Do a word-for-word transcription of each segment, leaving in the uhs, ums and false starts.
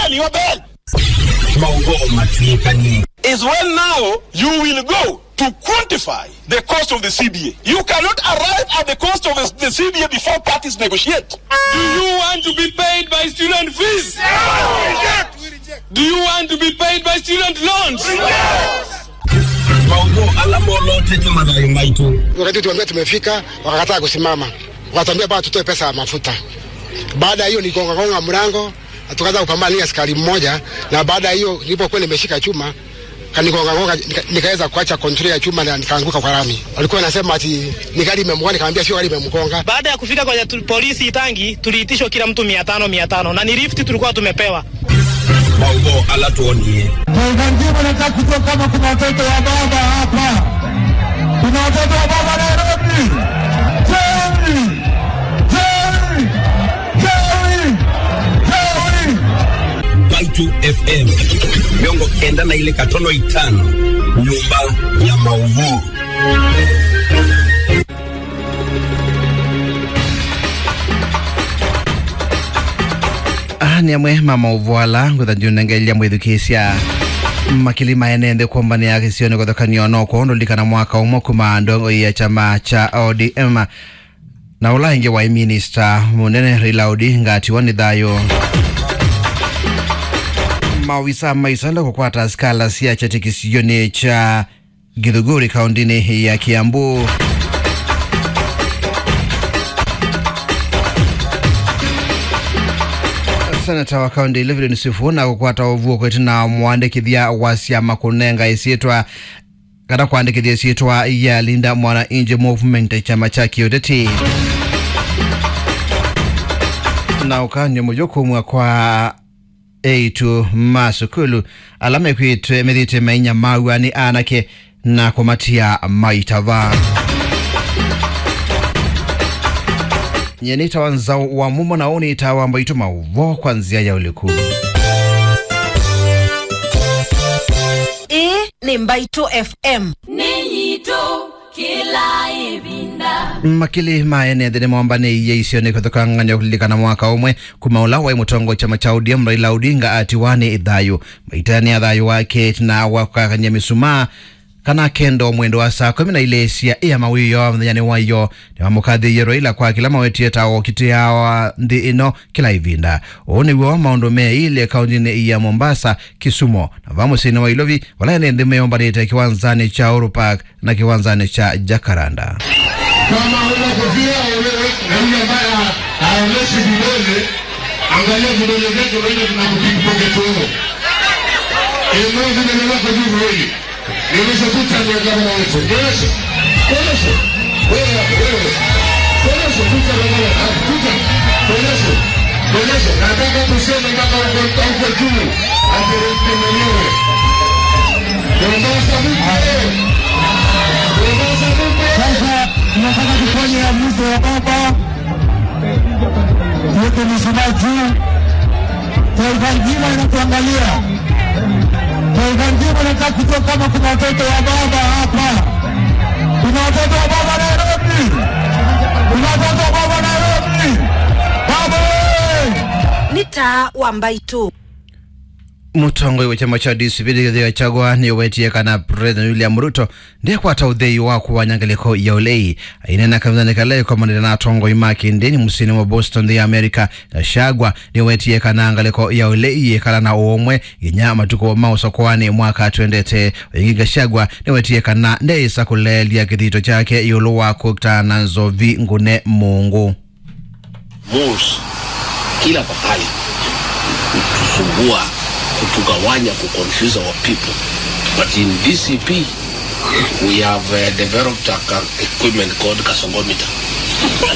and your bell. Maũvoo matw'ĩkanie. Is when now you will go to quantify the cost of the C B A. You cannot arrive at the cost of the C B A before parties negotiate. Do you want to be paid by student fees? Do you want to be paid by student loans? Maũvoo ala molotete mathayũ maitũ. Wakati tuambia tumefika, wakakataa kusimama. Wakatuambia bado tutoe pesa ya mafuta. Baada ya hiyo, nigonga gonga mlango, na tukaanza kupambana na askari mmoja, na baada ya hiyo, nilipokuwa nimeshika chuma, kanigonga gonga, nika-, nikaweza kuacha control ya chuma na nikaanguka kwa lami. Walikuwa wanasema ati ni gari imemgonga, nikamwambia sio gari imemgonga. Baada ya kufika kwa tu-, polisi Itangi, tuliitishwa kila mtu mia tano, mia tano, na ni lift tulikuwa tumepewa. Maũvoo ala twonie. Kwa hivyo, nataka kujua kama kuna watoto wa baba hapa. Kuna watoto wa baba Nairobi? Jerry! Jerry! Jerry! Jerry! Mbaitũ F M, mĩongo kenda na ilĩ katono itano, nyũmba ya maũvoo. Aa nĩ amwe ma maũvoo ala ngũtha ndiũnengelya mwĩthukĩĩsya. Makili ma ene nthĩ kũmbanĩa kĩsionĩ kũthokany'o noko ndũlikana mwaka ũmwe kuma ndongoi ya kyama kya O D M na ũla ĩngĩ waĩ minista mũnene Raila Odinga atiwa nĩ thayũ. Maovisa ma isanda kũkwata asikala sya kyatĩ kĩsionĩ kya Githuguri kaũntĩnĩ ya Kiambu. Seneta wa kaũntĩ Evelyn Sifuna kũkwata ũvuo kwĩtana na mũandĩkĩthya wa syama kũnenga ĩsyĩtwa kana kwandĩkĩthya ĩsyĩtwa ya Linda Mwananchi Movement, kyama kya kĩũteti. Na ũkany'o mũyo kumw'a kwa eĩtu ma sukulu ala mekwĩtwe methĩĩtwe mainyamaw'a nĩ anake na kũmatia maitava. Nyie nĩtawa Nzaũ wa Mumo na ũũ nĩtawa Mbaitũ, maũvoo kwa nzĩa ya ũliku. Ĩĩ nĩ Mbaitũ F M. Nĩ yitũ. Kĩla ĩvinda. Makili ma ene nthĩ nĩmombanĩie isionĩ kũthokangany'a kũlilikana mwaka ũmwe kuma ũla waĩ mũtongoi kyama kya O D M Raila Odinga atiwa nĩ thayũ. Maitani ya thayũ wake na wakakany'a mĩsumaa kana kendo mwendo wa saa kũmi na ilĩ sya ĩa mawĩoo mũthenyanĩ wa ĩyo, nĩwamũkathĩie Raila kwa kĩla mawetie ta ũkitĩa wa nthĩ ĩno kĩla ĩvinda. Ũũ nĩw'o maũndũ meĩle kaũntĩnĩ ya Mombasa, Kisumu, na va mũsyĩnĩ wa Ilovi, vala ene nthĩ meombanĩte kĩwanzanĩ kya Uhuru Park na kĩwanzanĩ kya Jacaranda. Kama huna kofia, wewe, na yule ambaye ha-, haonyeshi vidole, angalia vidole vyake, unaenda tunakupickpocket wewe. Inua vidole vyako juu viwili. Nionyeshe picha ya gavana wetu. Nionyeshe. Nionyeshe. Wewe hapo, wewe. Nionyeshe picha ya gavana. Ah, picha. Nionyeshe. Nionyeshe. Nataka tuseme mpaka huko, huko juu. Ati Ruto mwenyewe. Mombasa mpe. Mombasa mpe. Sasa, tunataka tufanye ya mwisho ya baba. Yote msemaji. Taifa nzima inatuangalia. Taifa nzima inataka kujua kama kuna watoto wa baba hapa. Kuna watoto wa baba Nairobi. Kuna watoto wa baba Nairobi. Baba wewe. Nĩ taa wa Mbaitũ. Mũtongoi wa kyama kya D C P Rigathi Gachagua nĩũwetie kana President William Ruto ndekwata ũthei wa kũwanya ngalĩko ya ũlei. Aineena kavindanĩ kala ĩkomanĩte na atongoi ma kĩndĩni mũsyĩnĩ wa Boston, nthĩ ya America, Gachagua nĩwetie kana ngalĩko ya ũlei yĩkala na ũũmwe nginya matukũ ma ũsakoanĩ mwaka twendete. Ĩngĩ Gachagua nĩwetie kana ndeĩsa kũleelya kĩthito kyake ĩũlũ wa kũkta na nzovi ngũne mũngũ. Malls, kila pahali, kutusumbua, kutugawanya, kuconfuse our people. But in D C P, we have, uh, developed a ca-, equipment called gasogometer.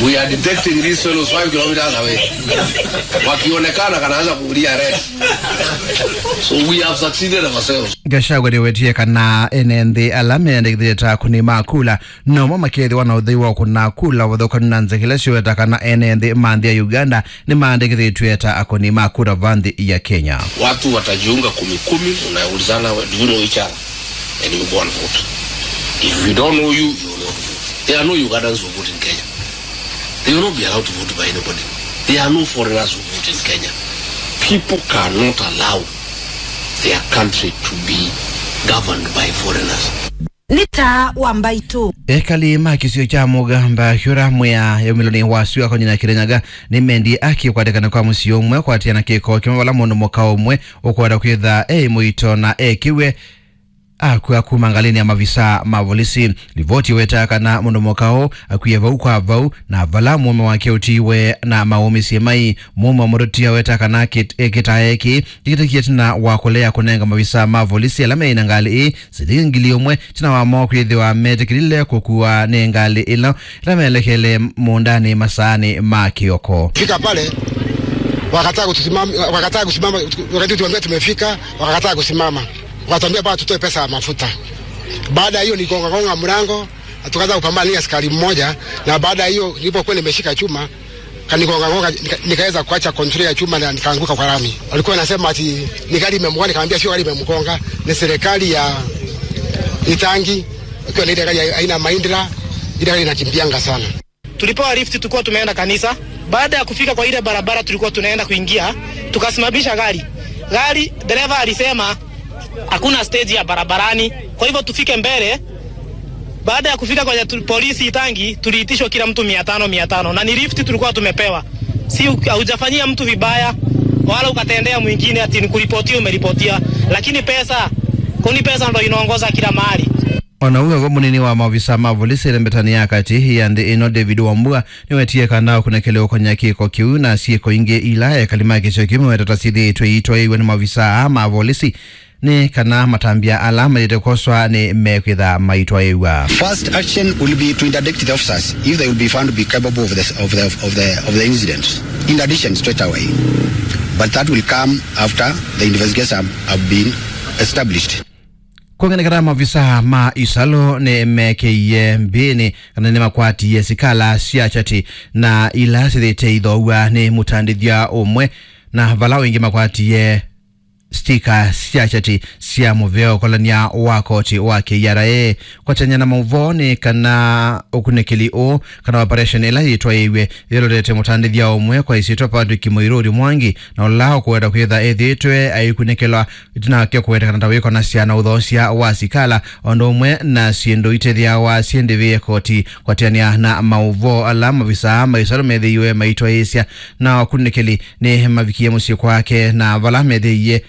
We are detecting these fellows five kilometers away. Wakionekana, kanaanza kulia red. So we have succeeded ourselves. Gachagua nĩwetie kana ene nthĩ ala meyandĩkĩthĩte ta akũni ma kula nomo makethĩwa na ũthei wa kũna kula ũvathũkanu na nzĩa ila syoweta kana ene nthĩ ma nthĩ ya Uganda nĩmaandĩkĩthĩtw'e ta akũni ma kura va nthĩ ya Kenya. Watu watajiunga kumi kumi, unaulizana, "Do you know each other?" And you go and vote. If we don't know you, you will not vote. There are no Ugandans who vote in Kenya. They will not be allowed to vote by anybody. There are no foreigners who vote in Kenya. People cannot allow their country to be governed by foreigners. Nĩ taa wa mbaitũ. Ekali ma kĩsio kya Mũgamba kĩũra mwĩa yaumĩlonĩ wa sua konyina Kĩrĩnyaga nĩmendie akĩ kwatĩkana kwa mũsyĩ ũmwe kwatĩana kĩko kĩmwe vala mũndũ mũka ũmwe ũkwenda kwĩtha e mũito na ekĩwe akw'a kuma ngalĩnĩ ya mavisa ma volisi. Livoti ĩwetaa kana mũndũ mũka ũũ akwie vau kwa vau, na vala mũũme wake ũtiiwe na maũmĩsye mai. Mũũme wa mũtũtia wetaa kana kĩt-, e, kĩtae kĩĩ kĩkĩtĩkie ĩtina wa kũlea kũnenga mavisa ma volisi ala meĩ na ngalĩ ĩĩ silingi ngili ũmwe ĩtina wa moo kwĩthĩwa metĩkĩlile kũkua nĩ ngalĩ ĩla, ĩla melekele mũũndanĩ masaanĩ ma kĩoko. Fika pale, wakataa kutusimama, wakataa kusimama, wakati tuambia tumefika, wakataa kusimama. Wakatuambia bwana tutoe pesa ya mafuta. Baada ya hiyo nigonga gonga mlango, na tukaanza kupambana na askari mmoja, na baada ya hiyo nilipokuwa nimeshika chuma, kanigonga gonga, nika-, nikaweza kuacha control ya chuma na nikaanguka kwa lami. Walikuwa wanasema ati ni gari imemgonga, nikamwambia sio gari imemgonga, ni serikali ya Itangi, ikiwa na ile gari ya aina Mahindra, ile gari inakimbianga sana. Tulipewa lift, tulikuwa tumeenda kanisa. Baada ya kufika kwa ile barabara tulikuwa tunaenda kuingia, tukasimamisha gari. Gari, dereva alisema hakuna stage ya barabarani, kwa hivyo tufike mbele. Baada ya kufika kwa tu-, polisi Itangi, tuliitishwa kila mtu mia tano, mia tano, na ni lift tulikuwa tumepewa. Si u-, haujafanyia mtu vibaya, wala ukatendea mwingine ati ni kuripotia umeripotia, lakini pesa, kwani pesa ndo inaongoza kila mahali. O na ũu wĩvo, mũnini wa maovisa ma volisi ĩlembetanĩ ya katĩ ya nthĩ ĩno, David Wambua, nĩwetie kana ũkunĩkĩli ũkonya kĩko kĩu na syĩko ingĩ ila ekali ma kĩsio kĩu meweta ta syĩthĩĩtwe iitwaĩĩw'a nĩ maovisa aa ma volisi nĩ kana matambya ala maĩlĩte kwoswa nĩmekwĩtha maitwaĩĩw'a. First action will be to interdict the officers if they will be found to be capable of the, of the, of the, of the incident. Interdiction straight away. But that will come after the investigation have been established. Kwong'enekana maovisa ma ĩsalũ nĩmekĩie mbĩnĩ kana nĩmakwatie sikala sya kyati na ila syĩthĩĩte ithoow'a nĩ mũtandĩthya ũmwe, na vala wĩngĩ makwatie stika sya kyati sya mũvea ũkolany'a wa koti wa K R A. Kwatany'a na maũvoo nĩ kana ũkunĩkĩli ũũ kana operation ĩla yĩtwaĩĩw'e yĩlotete mũtandĩthya ũmwe kwa ĩsyĩtwa Patrick Mũirũri Mwangi, na ũla ũkũweta kwĩtha ethĩĩtwe aikunĩkĩlwa ĩtina wake kũwetekana ta wĩkonasya na ũthoosya wa sikala, o ũndũ ũmwe na syĩndũ itethĩawa syĩ ndĩvĩe koti. Kwatĩanĩa na maũvoo ala, mavisaa ma ĩsalũ methĩiwe maitwaĩĩsya na akunĩkĩli nĩ mavikie mũsyĩ kwake, na vala methĩie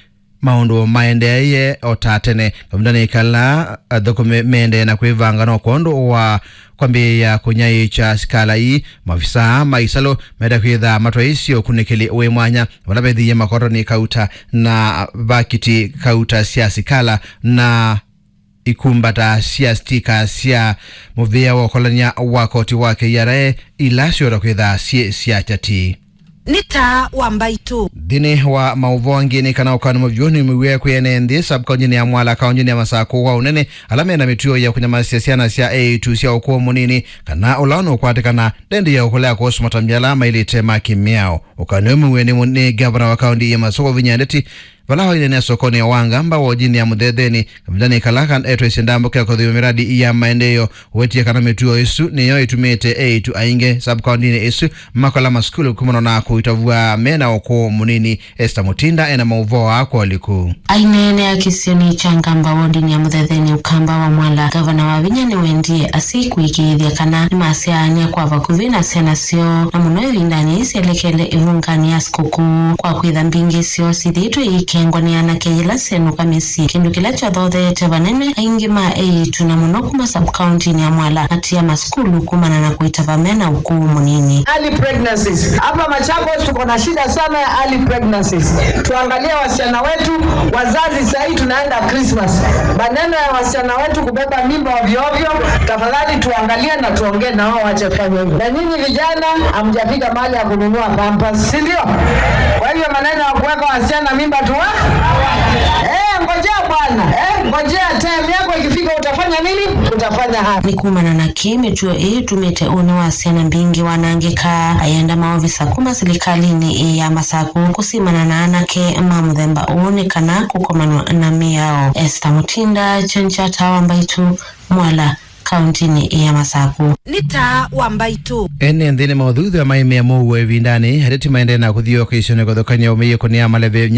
maũndũ maendeeie o ta tene. Kavindanĩ kala athũkũmi meendee na kwĩvanga no kwondũ wa kwambĩĩa kũnyaĩĩkya sikala ii, mavisaa ma ĩsalũ menda kwĩtha matwaĩĩsye ũkunĩkĩli wĩ mwanya vala vethĩie makotoni kauta na vakiti kauta sya sikala na ikumbata sya stika sya mũvĩa wa ũkolany'a wa koti wa K R A ila syota kwĩtha syĩ sya kyati. Nĩ taa wa mbaitũ. Nthĩnĩ wa maũvoo angĩ nĩ kana ũkani mũvyũ nĩmĩw'e kwĩ ene nthĩ sub-kauntinĩ ya Mwala, kauntinĩ ya Masakũ wa ũnene, ala mena mĩtuo ya kũnyamasya syana sya eĩtu sya ũkũũ mũnini kana ũla nũkwatĩkana ndendi ya ũkũlea kũsu matambya ala mailĩte ma kĩmĩao. Ũkani ũyũ mũw'e nĩ, nĩ ngavana wa kaunti ya Masakũ Wavinya Ndeti vala waineenea sokonĩ wa Ngamba wodinĩ ya Mũthetheni, kavindanĩ kala kan-, etwaisye ndambũka ya kũthĩwa miradi ya maendeeo. Wetie kana mĩtuo ĩsu nĩyo ĩtumĩte eĩtu aingĩ sub-kauntinĩ ĩsu makola masukulu kumana na kũitavw'a mena ũkũũ mũnini. Esther Mutinda ena maũvoo aa kwa ũliku. Aineenea kĩsionĩ kya Ngamba wodinĩ ya Mũthetheni, Ũkamba wa Mwala, ngavana Wavinya nĩwendie asyai kũĩkĩĩthya kana nĩmasyaanĩa kwa vakuvĩ na syana syoo, na mũno ĩvindanĩ yĩĩ syelekele ĩvunganĩ ya sikũkũ, kwa kwĩtha mbingĩ syoo syĩthĩĩtwe iikengwa nĩ anake yĩla syenũka mĩsyĩ, kĩndũ kĩla kyathotheete vanene aingĩ ma eĩtu, na mũno kuma sub-kauntinĩ ya Mwala, matia masukulu kumana na kũitava mena ũkũũ mũnini. Early pregnancies. Hapa Machakos tuko na shida sana ya early pregnancies. Tuangalie wasichana wetu, wazazi, sahii tunaenda Christmas. Maneno ya wasichana wetu kubeba mimba ovyo ovyo, tafadhali tuangalie na tuongee na wao wache kufanya hivyo. Na nyinyi vijana, hamjafika mahali ya kununua pampers, si ndio? Kwa hivyo maneno ya kuweka wasichana mimba tuwa-, eh, ngojea bwana, eh, ngojea time yako ikifika utafanya nini? Utafanya haya. Nĩ kumana na kĩĩ mĩtuo ĩĩ ĩtumĩte ũnĩ wa syana mbingĩ wanangĩka. Ayenda maovisa kuma silikalĩnĩ ĩĩ ya Masakũ kũsimana na anake ma mũthemba ũũ nĩ kana kũkomanwa na mĩao. Esther Mutinda, Kyongyata wa Mbaitũ, Mwala, kauntinĩ ya Masaku. Nĩ taa wa mbaitũ. Ene nthĩnĩ maũthuthya maimĩa mũuo ĩvindanĩ, ateti maendee na kũthiũũka isionĩ kũthũkany'a ũmĩyĩko nĩ amaleve